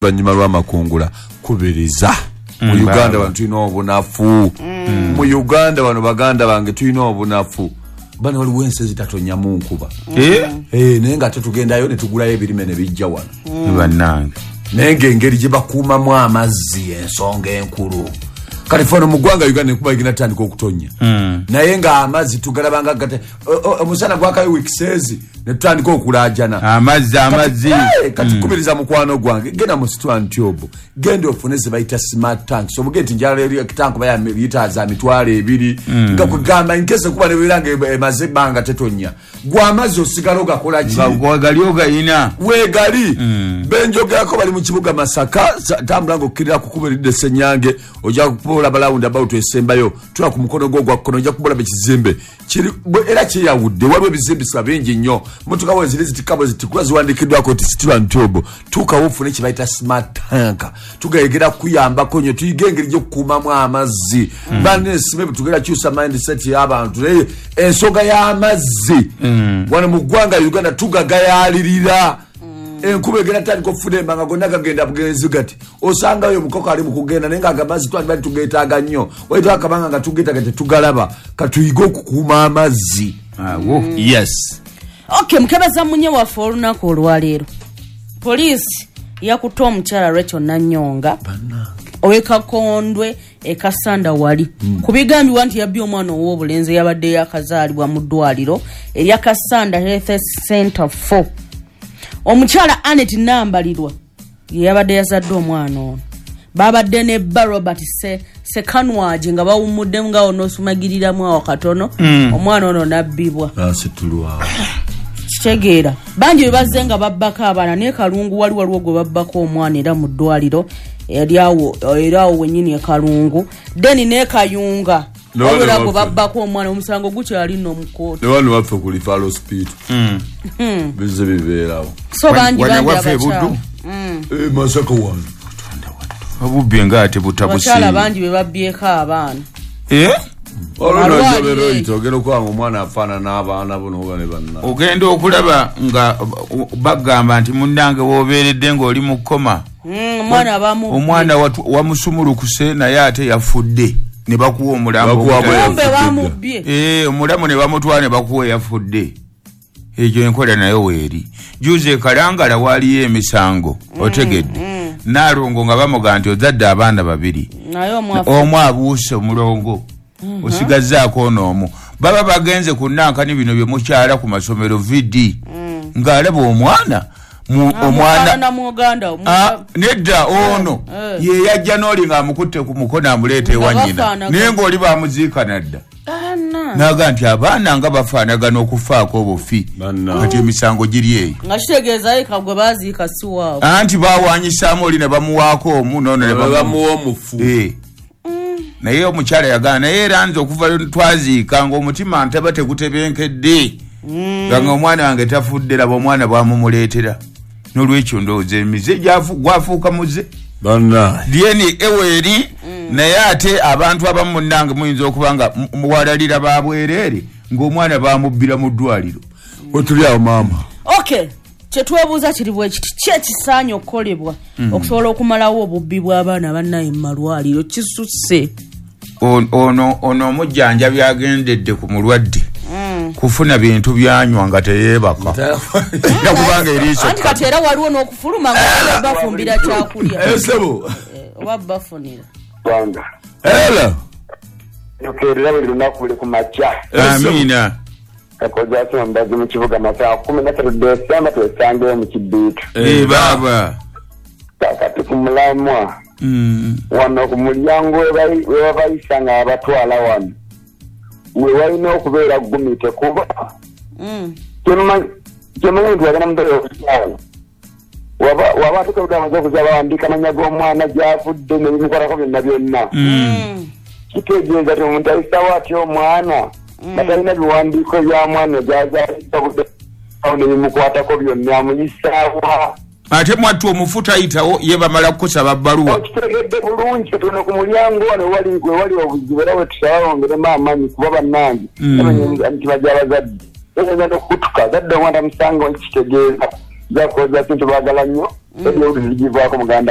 Oluvannyuma lw'amakungula, kubiriza mu Uganda wano tulina obunafu. Mu Uganda wano, baganda bange, tulina obunafu. Bano waliwo ensi ezitatonyamu nkuba. Eh, naye nga tetugendayo ne tugulayo ebirime ne bijja wano. Bannange. Naye ng'engeri gye bakuumamu amazzi, ensonga enkulu kati fano mu ggwanga Uganda, enkuba egenda tutandika okutonya, naye ng'amazzi tugalabanga gate omusana gwakayo wikiseezi ne tutandika okulaajana. Amazzi, amazzi. Kati kubiriza mukwano gwange, genda mu Steel and Tube, genda ofune ze bayita smart tanks. Obuge nti njala eri tank baya lita za 20,000, nga kugamba inkese kuba nebeera nga emaze ebbanga tetonya, gwe amazzi osigala ogakola ki? Nga gali ogayina. Weegali benjogerako bali mu kibuga Masaka. Tambula ngaokkirira ku kkubo eridde Senyange, ojja kubolaba round about esembayo, tula ku mukono gwo ogwa kkono, ojja kubolaba ekizimbe kiri era kyeyawudde. Waliwo ebizimbisibwa bingi nnyo. Motoka bwe ziri zitikka bwe zitikula ziwandiikiddwako nti Steel and Tube. Tuukawo ofune kye bayita smart tank. Tugegera kuyambako nnyo, tuyige engeri gy'okukuumamu amazzi. Banesime tugenda kyusa mindset y'abantu, naye ensonga y'amazzi wano mu ggwanga Uganda tugagayalirira. Enkuba egenda tandika okufuna embanga, gonna gagenda bugenzi gati. Osangayo omukoko ali mu kugenda, naye nga amazzi twandibali tugeetaaga nnyo. Waita akabanga nga tugeetaaga, tetugalaba. Katuyige okukuuma amazzi. Awo. Yes. Ok, mukebeza munye waffe olunaku olwaleero, poliisi yakutte omukyala Rachel Nanyonga owekakondwe ekasanda wali ku bigambibwa nti yabbye omwana ow'obulenzi eyabadde yakazaalibwa mu ddwaliro erya Kasanda Health Center 4. Omukyala Anet Nambalirwa ye yabadde yazadde omwana ono. Babadde ne bba Robert Sekanwagi nga bawumuddemu nga onoosumagiriramu awo katono, omwana ono nabbibwa. Asitulwa. Kitegeera bangi bwe bazze nga babbako abaana, naye Kalungu waliwo gwe babbako omwana era mu ddwaliro eryawo, era awo wennyini e Kalungu, then ne Kayunga Ne wano wabula gwe waffe. babbako omwana, omusango gukyali nno mu kkooti. Ne wano waffe ku referral hospital bizze bibeerawo. So bangi Wano bangi waffe e abakyala Buddu? Eh, Masaka wano. Obubbi nga ate butabuse. Abakyala bangi bwe babbyeko abaana. Eh? Malwaliro. Olwo oyita ogenda okulaba nga omwana afaanana abaana bo noba ne banna. Ogenda okulaba nga bagamba nti munnange w'obeeredde ng'oli mu kkoma. Omwana abamu Omwana wamusumulukuse, naye ate yafudde, ne bakuwa omulambo. Bakuwa kumbe bamubbye. Eh, omulamu ne bamutwala ne bakuwa eyafudde. Ekyo enkola nayo weeri. Juzi ekalangala waaliyo emisango, otegedde, naalongo nga bamuga nti ozadde abaana babiri, naye omwafu. Omu abuuse, omulongo osigazzaako ono omu. Baba bagenze ku nankani bino bye mukyala ku masomero vd, ng'alaba omwana omwana omwana muganda. Ah, nedda, ono ye yajja n'oli ng'amukutte ku mukono amuleeta ewa Nga nnyina. bafaanagana. Naye ng'oli bamuziika nadda. Naga nti abaana nga bafaanagana okufaako obufi. Banna. Kati emisango giri eyo. Nga kitegeeza yeka gwe baziika si waabwe. Anti bawanyisaamu oli ne bamuwaako omu nono ne bamuwa omufu. Eh. Naye omukyala yagana, naye era nze okuva lwe twaziika nga omutima ntaba tegutebenkedde, nga omwana wange tafudde, laba omwana bwamumuleetera. Nolwekyo ndowooza emize gwafuuka muze. Banna. Lyeni eweeri, naye ate abantu abamu munnange muyinza okuba nga muwalalira babwereere ng'omwana bamubbira mu ddwaliro. Wetuli awo, maama. Okay, kyetwebuuza kiri bwe kiti: ki ekisaanye okukolebwa okusobola okumalawo obubbi bw'abaana bannaye mu malwaliro? Kisusse. Ono omujjanjabi agendedde ku mulwadde kufuna bintu byanywa nga teyeebaka, era kubanga eriiso. Anti kati era waliwo n'okufuluma nga bafumbira kyakulya. Esebo. Oba bafunira. Gwanga. Era. Tukeerera buli lunaku, buli ku makya. Amiina. Kakozi asoma mbazi mu kibuga Masaa 13 Desemba, twesangeyo mu kibiito. Eh, baaba. Kakati ku mulamwa, wano ku mulyango we babayisa nga babatwala wano, we walina okubeera gumite, kuba kyemanyi nti wagenda mubeera okuzaala, waba atuka amaze okuzaala, bawandiika amanya g'omwana, gyavudde, nebimukwatako byonna byonna. Kitegeeza ti omuntu ayisawo atya omwana nga talina biwandiiko bya mwana gyazaalidde nebimukwatako byonna? Amuyisaawa? Ate mwattu omufu tayitawo, ye bamala kukusaba bbaluwa. Okitegedde bulungi. Tuno ku mulyango wano wewali obuzibu, era wetusaba bongeremu amaanyi, kuba bannange emitima gy'abazadde eyinza n'okukutuka zadde omwana tamusanga. Kitegeeza zakoza kintu baagala nnyo. Ebyo zigivaako muganda.